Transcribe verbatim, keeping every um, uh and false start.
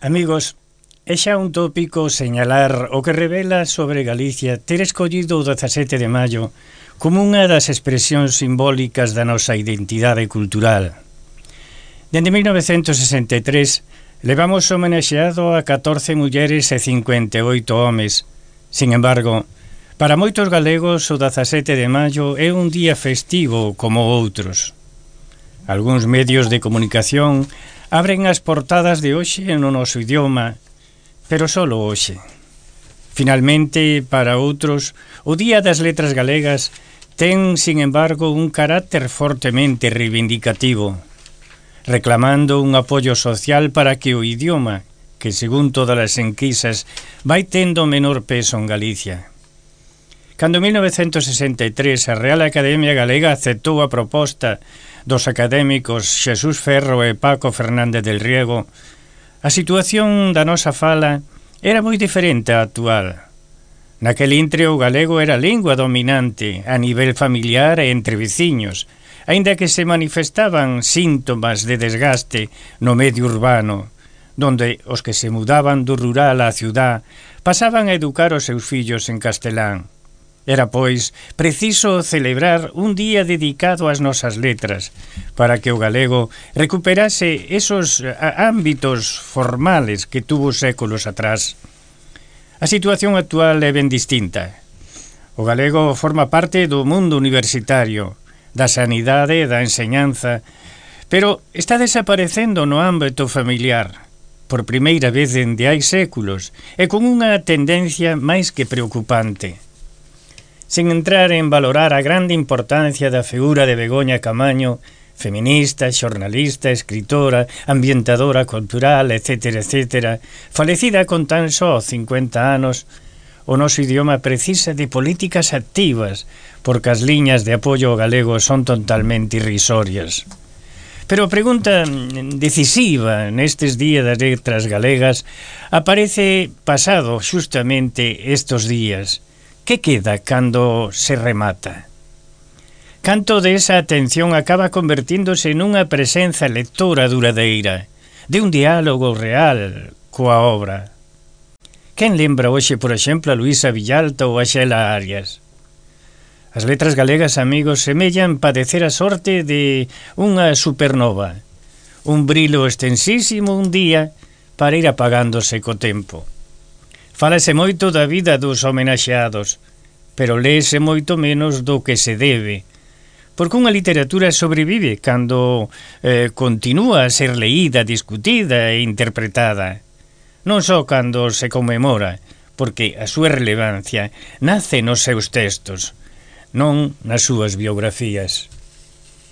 Amigos, é xa un tópico señalar o que revela sobre Galicia ter escollido o dezasete de maio como unha das expresións simbólicas da nosa identidade cultural. Dende mil novecentos sesenta e tres levamos homenaxeado a catorce mulleres e cincuenta e oito homes. Sin embargo, para moitos galegos o dezasete de maio é un día festivo como outros. Algúns medios de comunicación abren as portadas de hoxe no noso idioma, pero solo hoxe. Finalmente, para outros, o Día das Letras Galegas ten, sin embargo, un carácter fortemente reivindicativo, reclamando un apoio social para que o idioma, que según todas as enquisas vai tendo menor peso en Galicia. Cando en mil novecentos sesenta e tres a Real Academia Galega aceptou a proposta dos académicos Xesús Ferro e Paco Fernández del Riego, a situación da nosa fala era moi diferente á actual. Naquel intre o galego era a lingua dominante a nivel familiar e entre veciños, aínda que se manifestaban síntomas de desgaste no medio urbano, donde os que se mudaban do rural á ciudad pasaban a educar os seus fillos en castelán. Era, pois, preciso celebrar un día dedicado ás nosas letras, para que o galego recuperase esos ámbitos formales que tuvo séculos atrás. A situación actual é ben distinta. O galego forma parte do mundo universitario, da sanidade e da enseñanza, pero está desaparecendo no ámbito familiar, por primeira vez dende hai séculos, e con unha tendencia máis que preocupante. Sen entrar en valorar a grande importancia da figura de Begoña Camaño, feminista, xornalista, escritora, ambientadora cultural, etcétera, etcétera, falecida con tan só cincuenta anos, o noso idioma precisa de políticas activas, porque as liñas de apoio ao galego son totalmente irrisorias. Pero a pregunta decisiva nestes días das letras galegas aparece pasado xustamente estes días. Que queda cando se remata? Canto de esa atención acaba convertíndose nunha presenza lectora duradeira, de un diálogo real coa obra. Quen lembra hoxe, por exemplo, a Luísa Villalta ou a Xela Arias? As letras galegas, amigos, semellan padecer a sorte de unha supernova, un brilo extensísimo un día para ir apagándose co tempo. Fálase moito da vida dos homenaxeados, pero léese moito menos do que se debe, porque unha literatura sobrevive cando eh, continúa a ser leída, discutida e interpretada, non só cando se conmemora, porque a súa relevancia nace nos seus textos, non nas súas biografías.